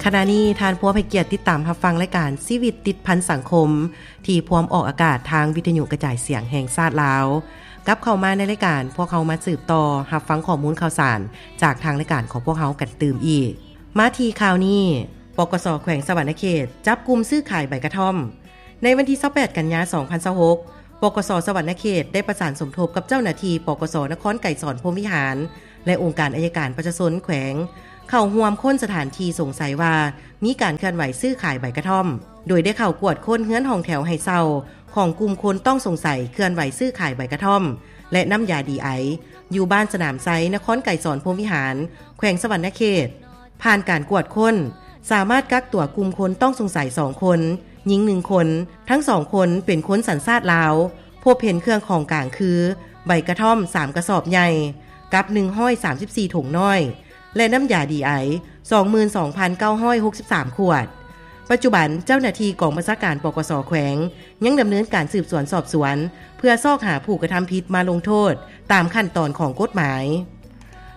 ຂະນະນີ້ທ່ານພວມໃຫ້ກຽດຕິດຕາມຮັບຟັງລາຍການຊີວິດຕິດພັນສັງຄົມ ທີ່ພວມອອກອາກາດທາງວິທະຍຸກະຈາຍສຽງແຫ່ງຊາດລາວ. ກັບເຂົ້າມາໃນລາຍການ, ພວກເຮົາມາສືບຕໍ່ຮັບຟັງຂໍ້ມູນຂ່າວສານຈາກທາງລາຍການຂອງພວກເຮົາກັນຕື່ມອີກ. ມາທີ່ຂ່າວນີ້, ປກສ ແຂວງສະຫວັນນະເຂດ ຈັບກຸ່ມຊື້ຂາຍໃບກະທ່ອມ. ໃນວັນທີຊາວແປດ ກັນຍາ ສອງພັນຊາວຫົກ, ປກສ ສະຫວັນນະເຂດ ໄດ້ປະສານສົມທົບກັບເຈົ້າໜ້າທີ່ ປກສ ນະຄອນໄກສອນ ພົມວິຫານ ແລະ ອົງການອັຍການປະຊາຊົນແຂວງ ເຂົ້າຮ່ວມຄົ້ນສະຖານທີ່ສົງໄສວ່າ ມີການເຄື່ອນໄຫວຊື້ຂາຍໃບກະທ່ອມ, ໂດຍໄດ້ເຂົ້າກວດຄົ້ນເຮືອນຫ້ອງແຖວໃຫ້ເຊົ່າຂອງກຸ່ມຄົນຕ້ອງສົງໄສເຄື່ອນໄຫວຊື້ຂາຍໃບກະທ່ອມ ແລະ ນ້ຳຢາດີໄອ ຢູ່ບ້ານສະໜາມໄຊ ນະຄອນໄກສອນ ພົມວິຫານ ແຂວງສະຫວັນນະເຂດ. ຜ່ານການກວດຄົ້ນ, ສາມາດກັກຕົວກຸ່ມຄົນຕ້ອງສົງໄສສອງຄົນ, ຍິງໜຶ່ງຄົນ, ທັງສອງຄົນເປັນຄົນສັນຊາດລາວ, ພົບເຫັນເຄື່ອງຂອງກາງຄື ໃບກະທ່ອມສາມກະສອບໃຫຍ່ ກັບໜຶ່ງຮ້ອຍສາມສິບສີ່ຖົງນ້ອຍ ແລະ ນ້ຳຢາດີໄອ ສອງໝື່ນສອງພັນເກົ້າຮ້ອຍຫົກສິບສາມຂວດ. ປັດຈຸບັນເຈົ້າໜ້າທີ່ກອງບັນຊາການ ປກສ ແຂວງ ຍັງດຳເນີນການສືບສວນສອບສວນ ເພື່ອຊອກຫາຜູ້ກະທຳຜິດມາລົງໂທດຕາມຂັ້ນຕອນຂອງກົດໝາຍ.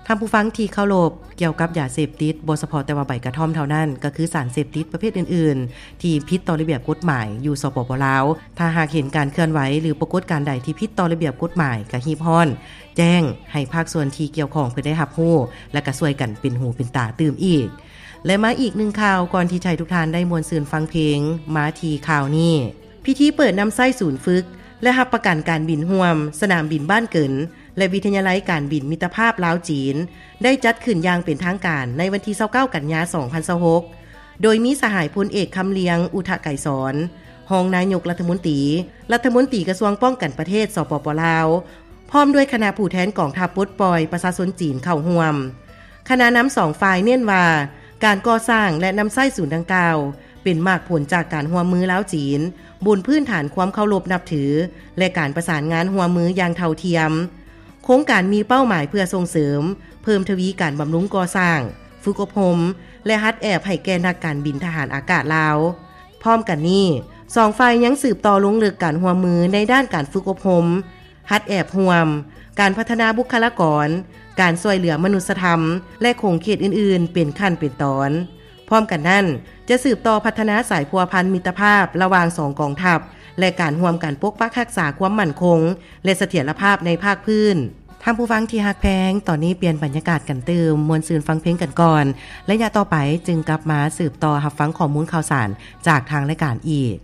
ທ່ານຜູ້ຟັງທີ່ເຄົາລົບ, ກ່ຽວກັບຢາເສບຕິດ ບໍ່ສະເພາະແຕ່ວ່າໃບກະທ່ອມເທົ່ານັ້ນ, ກໍຄືສານເສບຕິດປະເພດອື່ນໆ ທີ່ຜິດຕໍ່ລະບຽບກົດໝາຍຢູ່ ສປປ ລາວ. ຖ້າຫາກເຫັນການເຄື່ອນໄຫວ ຫຼື ປາກົດການໃດທີ່ຜິດຕໍ່ລະບຽບກົດໝາຍ, ກະຮີບຮ້ອນແຈ້ງໃຫ້ພາກສ່ວນທີ່ກ່ຽວຂ້ອງເພິ່ນໄດ້ຮັບຮູ້ ແລະ ກະຊ່ວຍກັນເປັນຫູເປັນຕາຕື່ມອີກ. ແລະ ມາອີກໜຶ່ງຂ່າວ ກ່ອນທີ່ຈະໃຫ້ທຸກທ່ານໄດ້ມ່ວນຊື່ນຟັງເພງ, ມາທີ່ຂ່າວນີ້. ພິທີເປີດນຳໃຊ້ສູນຝຶກ ແລະ ຮັບປະກັນການບິນຮ່ວມ ສະໜາມບິນບ້ານເກີນ ແລະ ວິທະຍາໄລການບິນມິດຕະພາບລາວ-ຈີນ ໄດ້ຈັດຂຶ້ນຢ່າງເປັນທາງການໃນວັນທີຊາວເກົ້າ ກັນຍາ ສອງພັນຊາວຫົກ ໂດຍມີສະຫາຍພົນເອກ ຄຳລຽງ ອຸທະໄກສອນ ຮອງນາຍົກລັດຖະມົນຕີ ລັດຖະມົນຕີກະຊວງປ້ອງກັນປະເທດ ສປປ ລາວ ພ້ອມດ້ວຍຄະນະຜູ້ແທນກອງທັບປົດປ່ອຍປະຊາຊົນຈີນເຂົ້າຮ່ວມ. ຄະນະນຳສອງຝ່າຍເນັ້ນວ່າ ການກໍ່ສ້າງ ແລະ ນຳໃຊ້ສູນດັ່ງກ່າວ ເປັນໝາກຜົນຈາກການຮ່ວມມືລາວ-ຈີນ ບົນພື້ນຖານຄວາມເຄົາລົບນັບຖື ແລະ ການປະສານງານຮ່ວມມືຢ່າງເທົ່າທຽມ. ໂຄງການມີເປົ້າໝາຍເພື່ອສົ່ງເສີມ, ເພີ່ມທະວີການບຳລຸງກໍ່ສ້າງ, ຝຶກອົບຮົມ ແລະ ຫັດແອບໃຫ້ແກ່ນັກການບິນທະຫານອາກາດລາວ. ພ້ອມກັນນີ້, ສອງຝ່າຍຍັງສືບຕໍ່ລົງເລິກການຮ່ວມມືໃນດ້ານການຝຶກອົບຮົມ, ຫັດແອບຮ່ວມ, ການພັດທະນາບຸກຄະລາກອນ, ການຊ່ວຍເຫຼືອມະນຸດສະທຳ ແລະ ຂົງເຂດອື່ນໆ ເປັນຂັ້ນເປັນຕອນ. ພ້ອມກັນນັ້ນ, ຈະສືບຕໍ່ພັດທະນາສາຍພົວພັນມິດຕະພາບລະຫວ່າງສອງກອງທັບ ແລະ ການຮ່ວມກັນປົກປັກຮັກສາຄວາມໝັ້ນຄົງ ແລະ ສະຖຽນລະພາບໃນພາກພື້ນ. ທ່ານຜູ້ຟັງທີ່ຮັກແພງ, ຕອນນີ້ປ່ຽນບັນຍາກາດກັນຕື່ມ, ມ່ວນຊື່ນຟັງເພງກັນກ່ອນ. ໄລຍະຕໍ່ໄປຈຶ່ງກັບມາສືບຕໍ່ຮັບຟັງຂໍ້ມູນຂ່າວສານຈາກທາງລາຍການອີກ.